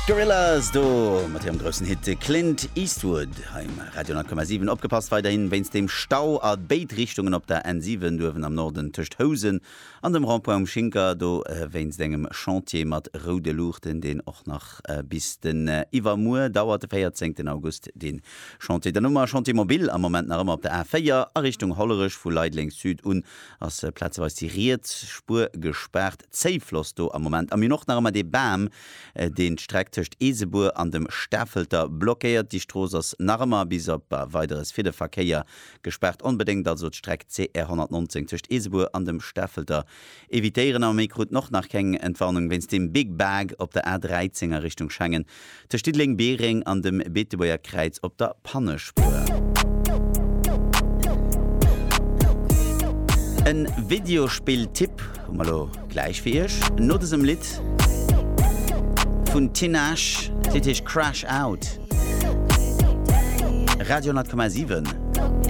Gorillaz do mat hirem groussen Hit Clint Eastwood hei um Radio 10,7. Opgepasst weiderhin wéinst dem Stau a béid Richtungen op der N7 uewen am Norden tëscht Housen an dem Rond-point um Schinker, do wéinst engem Chantier mat roude Luuchten, deen och nach bis den iwwermuer dauert, de 14 August dee Chantier. Dann hu mer Chantier mobile am Moment nach ëmmer op der A4 a Richtung Hollerech vu Leideleng Sud un ass plazeweis déi riets Spuer gespaart. Zéifloss do am Moment. A mir hunn och nach ëmmer dee Bam, deen d'Streck tëscht Eesebuer an dem Stafelter blockéiert. Déi Strooss ass nach ëmmer bis op Weideres fir de Verkéier gespaart. Onbedéngt also d'Streck CR 119 tëscht Eesebuer an dem Stafelter evitéieren. A mir kruten och nach keng Entwarnung wéinst deem Big Bag op der A13 a Richtung Schengen. Tëscht Diddeleng-Biereng an dem Beetebuerger Kräiz op der Pannespuer. En Videospill-Tipp hu mer lo gläich fir iech no dësem Lidd vun Tinashe. D'Lidd heescht Crash Out. Radio 10,7.